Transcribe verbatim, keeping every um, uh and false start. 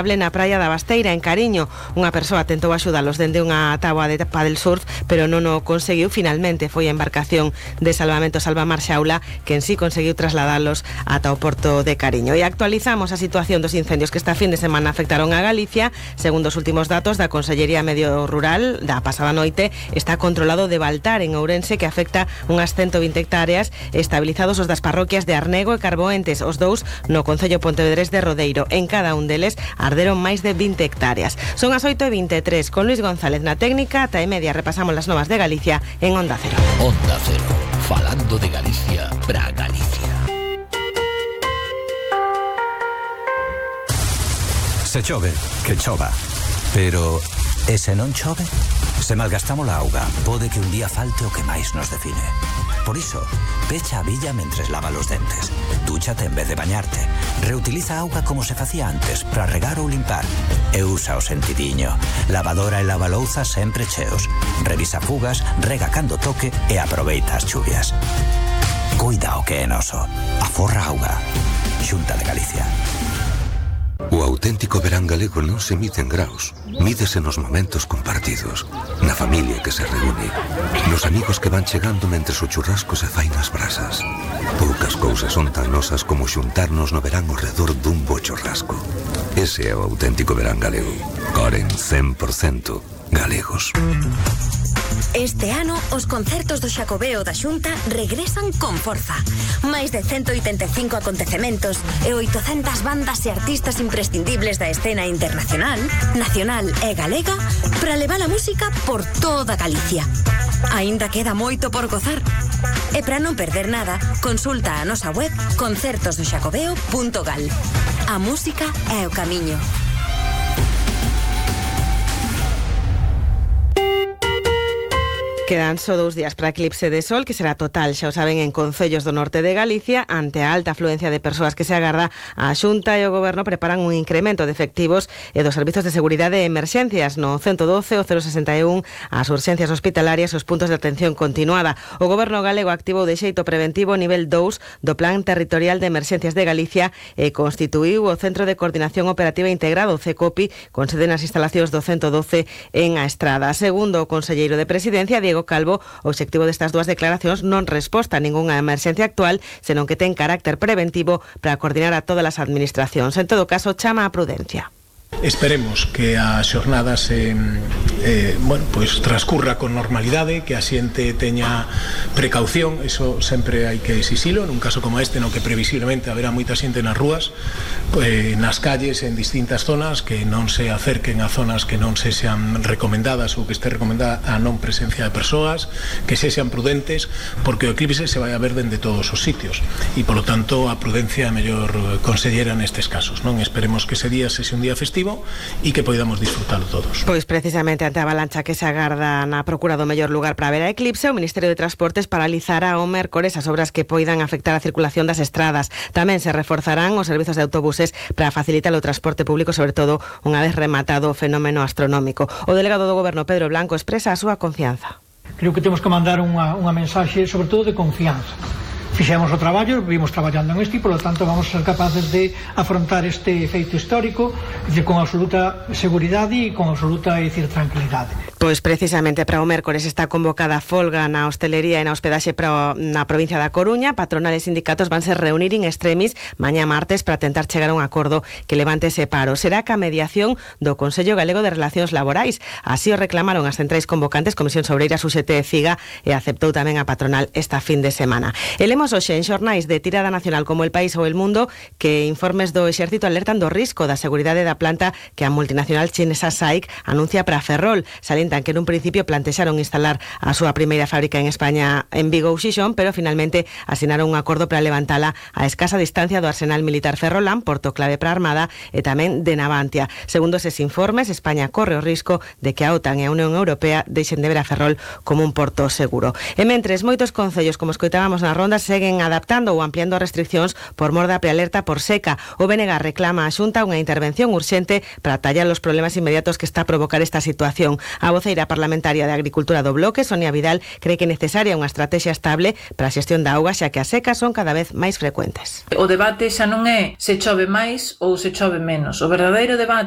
inestable na praia da Basteira, en Cariño. Unha persoa tentou axudalos dende unha táboa de paddle surf, pero non o conseguiu. Finalmente foi a embarcación de salvamento Salvamar Xaula que en sí conseguiu trasladalos ata o porto de Cariño. E actualizamos a situación dos incendios que esta fin de semana afectaron a Galicia. Segundo os últimos datos da Consellería Medio Rural, da pasada noite, está controlado de Baltar, en Ourense, que afecta unhas ciento vinte hectáreas, estabilizados os das parroquias de Arnego e Carboentes, os dous no concello pontevedrés de Rodeiro. En cada un deles arderon máis de vinte hectáreas. Son as oito e vinte e tres, con Luis González na técnica. Ata e media repasamos las novas de Galicia en Onda Cero. Onda Cero, falando de Galicia para Galicia. Se chove, que chova. Pero, e se non chove? Se malgastamos a auga, pode que un día falte o que máis nos define. Por iso, pecha a billa mentres lava os dentes. Dúchate en vez de bañarte. Reutiliza a auga como se facía antes para regar ou limpar. E usa o sentidiño. Lavadora e lavalouza sempre cheos. Revisa fugas, rega cando toque e aproveita as chuvias. Cuida o que é noso. Aforra auga. Xunta de Galicia. O auténtico verán galego non se mide en graus, mídese nos momentos compartidos, na familia que se reúne, nos amigos que van chegando mentres o churrasco se fai nas brasas. Poucas cousas son tan nosas como xuntarnos no verán ao redor dun bo churrasco. Ese é o auténtico verán galego. Coren cen por cento galegos. Este ano, os concertos do Xacobeo da Xunta regresan con forza. Máis de ciento oitenta e cinco acontecementos e oitocentas bandas e artistas imprescindibles da escena internacional, nacional e galega para levar a música por toda Galicia. Aínda queda moito por gozar. E para non perder nada, consulta a nosa web concertos do xacobeo punto gal. A música é o camiño. Quedan só dous días para eclipse de sol, que será total, xa o saben, en concellos do norte de Galicia. Ante a alta afluencia de persoas que se agarda, a Xunta e o Goberno preparan un incremento de efectivos e dos servizos de seguridade e emerxencias no ciento doce, o cero sesenta e un, as urxencias hospitalarias e os puntos de atención continuada. O Goberno galego activou de xeito preventivo o nivel dous do Plan Territorial de Emerxencias de Galicia e constituíu o Centro de Coordinación Operativa Integrado, CECOPI, con sede nas instalacións do ciento doce en A Estrada. Segundo o conselleiro de Presidencia, Diego Calvo, o obxectivo destas dúas declaracións non resposta a ningunha emerxencia actual, senón que ten carácter preventivo para coordinar a todas as administracións. En todo caso, chama a prudencia. Esperemos que a xornada se eh, bueno, pues transcurra con normalidade, que a xente teña precaución, eso sempre hai que exixilo, nun caso como este no que previsiblemente haberá moita xente nas rúas, pues, nas calles, en distintas zonas, que non se acerquen a zonas que non se sean recomendadas ou que este recomendada a non presencia de persoas, que se sean prudentes, porque o eclipse se vai a ver dende todos os sitios e polo tanto a prudencia é a mellor consellera nestes casos, non? Esperemos que ese día se un día festivo e que podamos disfrutalo todos. Pois precisamente ante a avalancha que se agarda na procura do mellor lugar para ver a eclipse, o Ministerio de Transportes paralizará o mércores as obras que poidan afectar a circulación das estradas. Tamén se reforzarán os servizos de autobuses para facilitar o transporte público, sobre todo unha vez rematado o fenómeno astronómico. O delegado do Goberno, Pedro Blanco, expresa a súa confianza. Creo que temos que mandar unha, unha mensaxe, sobre todo de confianza. Fixemos o traballo, vimos traballando en este e, polo tanto, vamos a ser capaces de afrontar este feito histórico de, con absoluta seguridade e con absoluta, é dicir, tranquilidade. Pois precisamente para o mércores está convocada a folga na hostelería e na hospedaxe para, na provincia da Coruña. Patronales e sindicatos van se reunir in extremis mañá martes para tentar chegar a un acordo que levante ese paro. Será ca mediación do Consello Galego de Relacións Laborais. Así o reclamaron as centrais convocantes, Comisión Obreiras, U G T e CIGA, e aceptou tamén a patronal esta fin de semana. Elemos hoxe en xornais de tirada nacional como El País ou El Mundo que informes do Exército alertan do risco da seguridade da planta que a multinacional chinesa S A I C anuncia para Ferrol. Salientan que nun principio plantexaron instalar a súa primeira fábrica en España en Vigo ou Xixón, pero finalmente asinaron un acordo para levantala a escasa distancia do arsenal militar ferrolán, porto clave para a Armada e tamén de Navantia. Segundo eses informes, España corre o risco de que a OTAN e a Unión Europea deixen de ver a Ferrol como un porto seguro. E mentres, moitos concellos, como escoitábamos na ronda, seguen adaptando ou ampliando restriccións por mor da prealerta por seca. O B N G reclama a Xunta unha intervención urxente para tallar os problemas inmediatos que está a provocar esta situación. A voceira parlamentaria de Agricultura do Bloque, Sonia Vidal, cree que é necesaria unha estrategia estable para a xestión da auga, xa que as secas son cada vez máis frecuentes. O debate xa non é se chove máis ou se chove menos. O verdadeiro debate